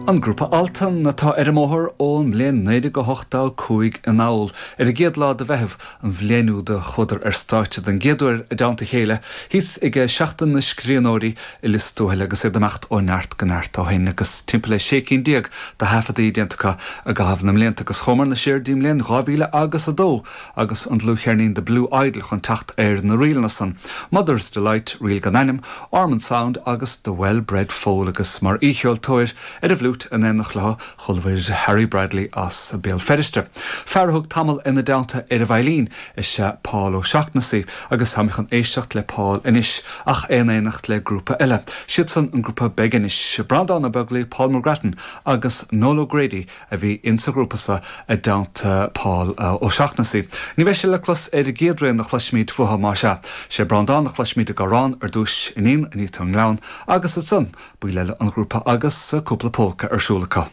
An grúpa Altan atá ar an mbóthar ón mbliain 1985 anall. Ar an gcéad lá de Mheitheamh an bhliain úd a chuadar ar stáitse den gcéad uair i dteannta a chéile thíos ag Seachtain na Scríbhneoirí i Lios Tuathail agus iad ag imeacht ó neart go neart ó shin agus timpeall le 16 cinn de thaifeadtaí déanta acu i gcaitheamh na mblianta agus chuamar siar dtí an mbliain 2000 agus 2 agus an dlúthcheirnín The Blue Idol chun teacht ar na ríleanna san, Mother's Delight, Ríl gan Ainm, Ormond Sound agus The Well Bred Foal agus mar aoicheoltóir ar an bhfliúit in éineacht leo chuala muid Harry Bradley as Béal Feirste. Fear a thug tamall ina dteannta ar an veidhlín is ea Paul O'Shaughnessy agus táimid chun éisteacht le Paul anois ach é in éineacht le grúpa eile. Siadsan an grúpa Beginis, Breandán Ó Beaglaoi, Paul McGrattan agus Noel O'Grady a bhí insa ghrúpa so i dteannta Paul O'Shaughnessy. Ní bheidh sé le clos ar an gcéad rian a chloisfimid uathu, más ea. Sé Breandán a chloisfimid ag amhrán ar dtúis, Iníon Anita ón nGleann, agus ansan baill eile an ghrúpa agus cúpla pólca ar siúl acu.